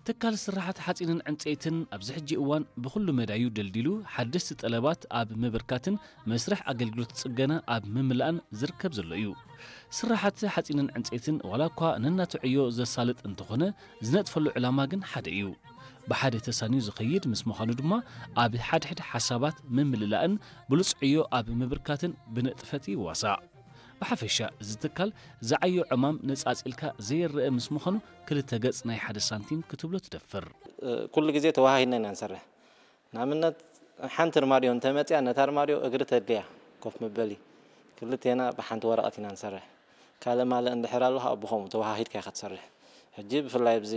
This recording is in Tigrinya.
ትካል ስራሓት ሓፂንን ዕንፀይትን ኣብዚ ሕጂ እዋን ብኹሉ መዳዩ ደልዲሉ ሓደስቲ ጠለባት ኣብ ምብርካትን መስርሕ ኣገልግሎት ፅገና ኣብ ምምላእን ዝርከብ ዘሎ እዩ። ስራሓት ሓፂንን ዕንፀይትን ዋላ እኳ ነናቱ ዕዮ ዘሳልጥ እንተኾነ ዝነጥፈሉ ዕላማ ግን ሓደ እዩ። ብሓደ ተሳንዩ ዝኸይድ ምስ ምዃኑ ድማ ኣብ ሓድሕድ ሓሳባት ምምልላእን ብሉፅ ዕዮ ኣብ ምብርካትን ብንጥፈት ይዋሳእ። ብሓፈሻ እዚ ትካል ዝዓዮ ዕማም ነፃፂልካ ዘይረአ ምስ ምዃኑ ክልተ ገፅ ናይ ሓደ ሳንቲም ክትብሎ ትደፍር። ኩሉ ግዜ ተወሃሂድና ኢና ንሰርሕ። ንኣብነት ሓንቲ ኣርማድዮ እንተመፅያ ነታ ኣርማድዮ እግሪ ተድልያ ኮፍ መበሊ ክልቴና ብሓንቲ ወረቐት ኢና ንሰርሕ። ካልእ ማልእ እንድሕር ኣሎ ከዓ ብኸምኡ ተወሃሂድካ ኢኻ ትሰርሕ። ሕጂ ብፍላይ ኣብዚ